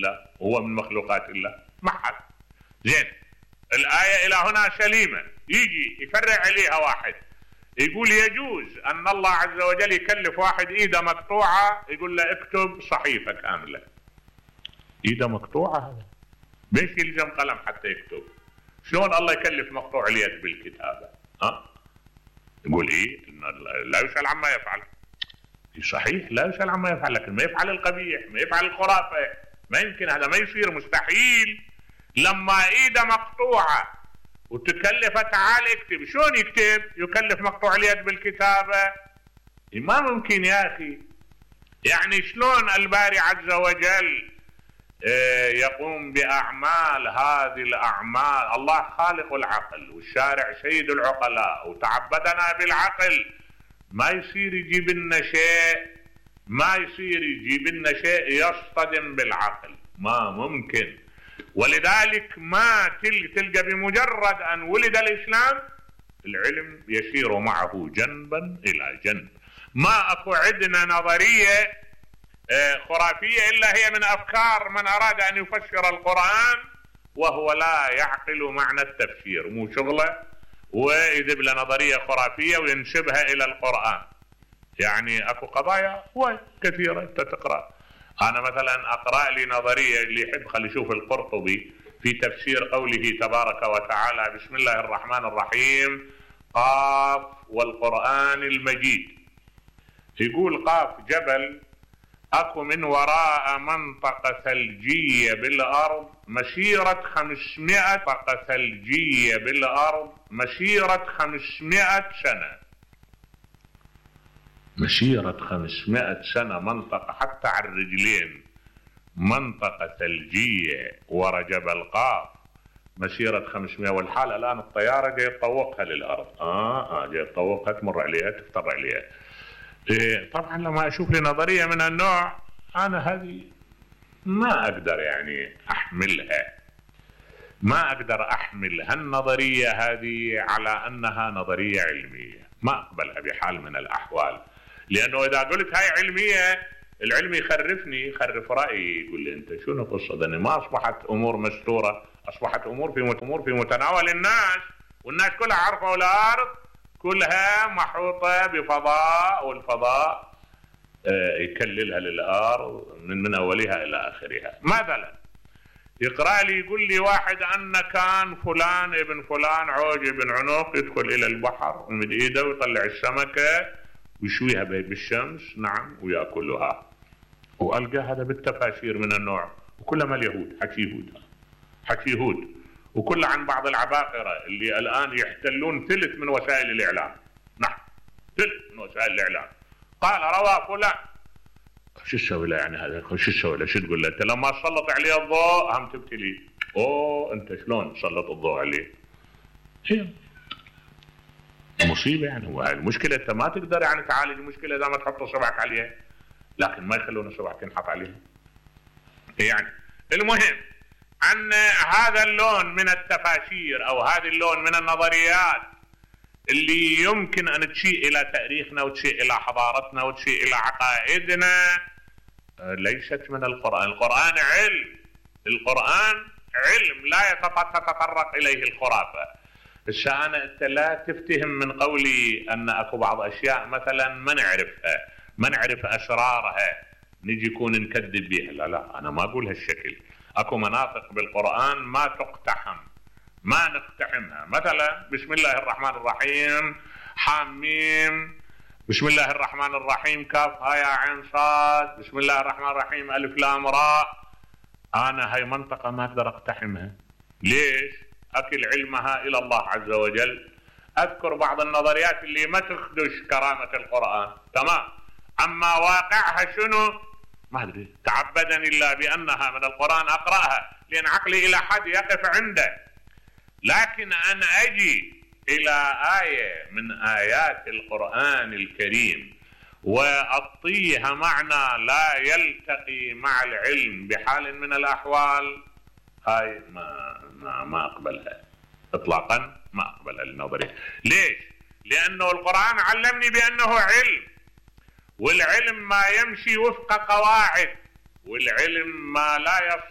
الله وهو من مخلوقات الله؟ ما حد. زين، الآية إلى هنا سليمة. يجي يفرع عليها واحد يقول يجوز أن الله عز وجل يكلف واحد إيده مقطوعة يقول له اكتب صحيفة كاملة. إيده مقطوعة هذا ليش يلزم قلم حتى يكتب؟ شلون الله يكلف مقطوع اليد بالكتابة؟ يقول إيه؟ إنه لا يسأل عما يفعل. صحيح لا يسأل عما يفعل، لكن ما يفعل القبيح، ما يفعل الخرافة، ما يمكن، هذا ما يصير، مستحيل. لما إيده مقطوعة وتكلف تعال اكتب، شلون يكتب؟ يكلف مقطوع اليد بالكتابة؟ ما ممكن يا أخي. يعني شلون الباري عز وجل يقوم بأعمال هذه الأعمال؟ الله خالق العقل والشارع سيد العقلاء وتعبدنا بالعقل. ما يصير يجيب لنا شيء، ما يصير يجيب لنا شيء يصطدم بالعقل، ما ممكن. ولذلك ما تلقى بمجرد أن ولد الإسلام العلم يسير معه جنبا إلى جنب. ما أكو عندنا نظرية خرافية إلا هي من أفكار من أراد أن يفسر القرآن وهو لا يعقل معنى التفسير، مو شغله ويذب له نظرية خرافية وينسبها إلى القرآن. يعني أكو قضايا كثيرة تقرأ. أنا مثلا أقرأ لي نظرية، اللي يحب خلي يشوف القرطبي في تفسير قوله تبارك وتعالى بسم الله الرحمن الرحيم قاف والقرآن المجيد. يقول قاف جبل أكو من وراء منطقة ثلجية بالأرض مسيرة 500 منطقة ثلجية بالأرض مسيرة 500 سنة. مسيرة 500 سنة منطقة حتى على الرجلين، منطقة ثلجية ورا جبل قاف مسيرة 500، والحالة الآن الطيارة جاي تطوقها للأرض. جاي تطوقها تمر عليها تفتر عليها. طبعا لما أشوف لي نظرية من النوع أنا هذه ما أقدر يعني أحملها، ما أقدر أحمل هالنظرية هذه على أنها نظرية علمية، ما أقبلها بحال من الأحوال. لأنه إذا قلت هاي علمية العلم يخرفني، يخرف رأيي، يقول لي أنت شنو قصة؟ أن ما أصبحت أمور مستورة، أصبحت أمور في متناول الناس، والناس كلها عارفة الأرض كلها محوطة بفضاء، والفضاء يكللها للأرض من أولها إلى آخرها. مثلا يقرأ لي يقول لي واحد أن كان فلان ابن فلان عوج ابن عنق يدخل إلى البحر ومد إيده ويطلع السمكة ويشويها بالشمس، نعم، ويأكلها. وألقى هذا بالتفاسير من النوع، وكلها اليهود حكي يهود، وكل عن بعض العباقرة اللي الآن يحتلون ثلث من وسائل الإعلام. نعم، ثلث من وسائل الإعلام. قال روى فلان، شو تسوي له يعني هذا؟ شو تسوي له؟ شو تقول له؟ انت لما تسلط عليه الضوء هم تبتلي. انت شلون تسلط الضوء عليه؟ هي مصيبه يعني. هو المشكله انت ما تقدر يعني تعالج المشكله اذا ما تحط صبعك عليها، لكن ما يخلون صبعك ينحط عليها. يعني المهم ان هذا اللون من التفاسير او هذا اللون من النظريات اللي يمكن أن تشيء إلى تاريخنا وتشيء إلى حضارتنا وتشيء إلى عقائدنا ليست من القرآن. القرآن علم، القرآن علم لا تتطرق إليه الخرافة. أنت لا تفتهم من قولي أن أكو بعض أشياء مثلا ما نعرف أسرارها نجي يكون نكذب بها. لا، أنا ما أقول هالشكل. أكو مناطق بالقرآن ما تقتحم، ما نقتحمها. مثلا بسم الله الرحمن الرحيم حاميم، بسم الله الرحمن الرحيم كاف ها يا عين صاد، بسم الله الرحمن الرحيم ألف لام راء. أنا هاي منطقة ما أقدر أقتحمها. ليش؟ أكل علمها إلى الله عز وجل. أذكر بعض النظريات اللي ما تخدش كرامة القرآن، تمام، أما واقعها شنو ما أدري. تعبدني الله بأنها من القرآن أقرأها لأن عقلي إلى حد يقف عنده. لكن أنا أجي إلى آية من آيات القرآن الكريم وأعطيها معنى لا يلتقي مع العلم بحال من الأحوال، هاي ما أقبلها إطلاقا، ما أقبلها النظرية. ليش؟ لأنه القرآن علمني بأنه علم، والعلم ما يمشي وفق قواعد، والعلم ما لا